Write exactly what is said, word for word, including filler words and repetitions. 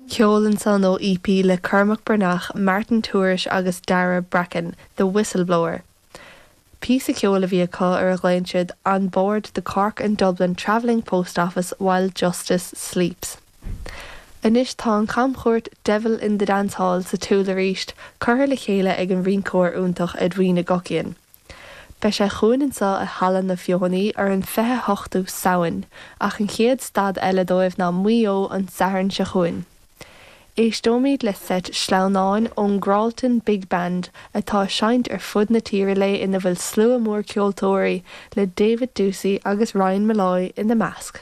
Ceol ansan ó EP le Cormac Breathnach, Martin Tourish agus Dara Bracken, The Whistleblower. Píosa ceoil a bhí acu ar a nglaonn siad on board the Cork and Dublin Travelling Post Office while Justice Sleeps. Anois tá an camchuairt Devil in the Dance Hall sa tsiúl arís curtha le chéile ag an rinceoir iontach Edwina Guckian. Beidh sé chugainn anseo i Halla na Feothanaí ar an fiche hochtú Samhain, ach an chéad stad eile dóibh ná Maigh Eo an Satharn seo chugainn. Éisteoimid le seit sleamhnáin ón Gralton Big Band atá ag seinnt ar fud na tíre le ina bhfuil slua mór ceoltóirí le David Doocey agus Ryan Molloy ina measc.